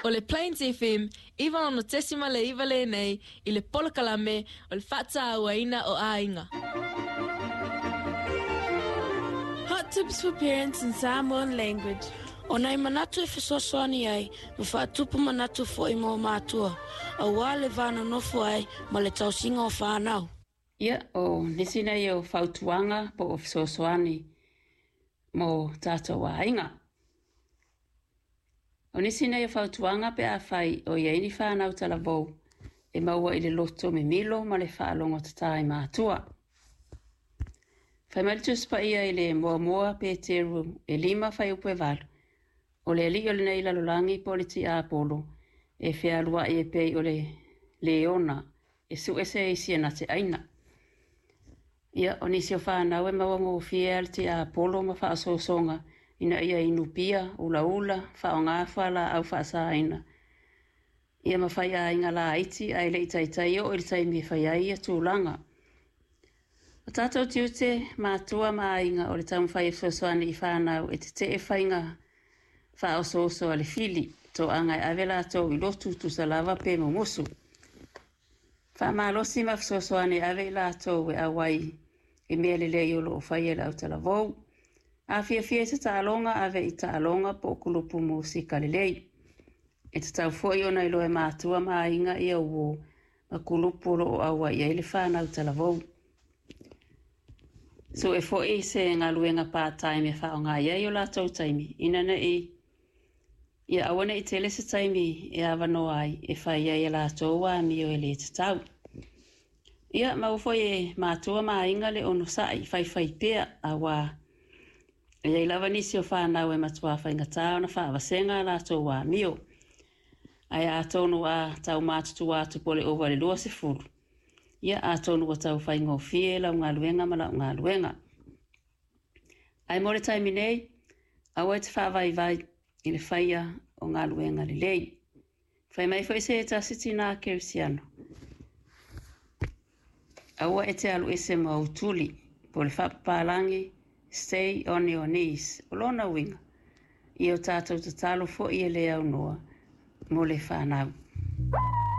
O le Plains FM 96.9 lenei i le polokalame o le faatauaina o aiga. Hot tips for parents in Samoan language. O nai manatu e fesoasoani ai ma faatupu manatu foi mo mātua, auā le va nonofo ai ma le tausiga o fanau. Ia, o nisi nei o fautuaga po o fesoasoani mo tatou aiga. O nisi nei o fautuaga pe afai o i ai ni fanau talavou e maua i le loto mimilo ma le faalogotatā i matua. Fai mai le Tusi Paia i le Muamua Peteru e 5 fuaiupu e 8, o le alii o lenei lalolagi po o le tiapolo e fealuai e pei o le leona e sue se isi e na te aina. Ia, o nisi o fanau e maua gofie a le tiapolo ma faaosoosoga ina ia inu pia, ulaula, faaaoga fualaau faasaina, ia ma faiaiga laiti ae le i taitai oo i le taimi e fai ai ia tulaga. O tatou tiute, matua ma aiga o le taumafai e fesoasoani i fanau e tetee faiga faaosooso a le fili, toaga e ave latou i lotu tusa lava pe mumusu. Faamalosi ma fesoasoani e ave i latou e auai i mea lelei o lo o faia e le autalavou. A fiafia i se taaloga, ave i taaloga po o kulupu musika lelei. E tatau foi ona iloa e matua ma aiga ia uo ma kulupu o lo o auai ai le fanau talavou. Sue foi se galuega part-time e faaaoga i ai o latou taimi, ina nei ia aua ne i tele se taimi e avanoa ai e fai ai e latou amio e le tatau. Ia, maua foi e matua ma aiga le onosai faifai pea, auā e i ai lava nisi o fanau e matuā faigata ona faavasega a latou amio. Ae atonu a tau matutua atu po o le ova i le 20, ia atonu ua tau faigofie lau galuega ma lau galuega. Ae mo le taimi nei, aua e te faavaivai i le faia o galuega lelei. Fai mai foi se tasi tinā kerisiano, aua e te alu ese ma ou tuli, po o le faapapalagi, stay on your knees. O lona uiga, ia o tatou tatalo foi e le aunoa mo le fanau.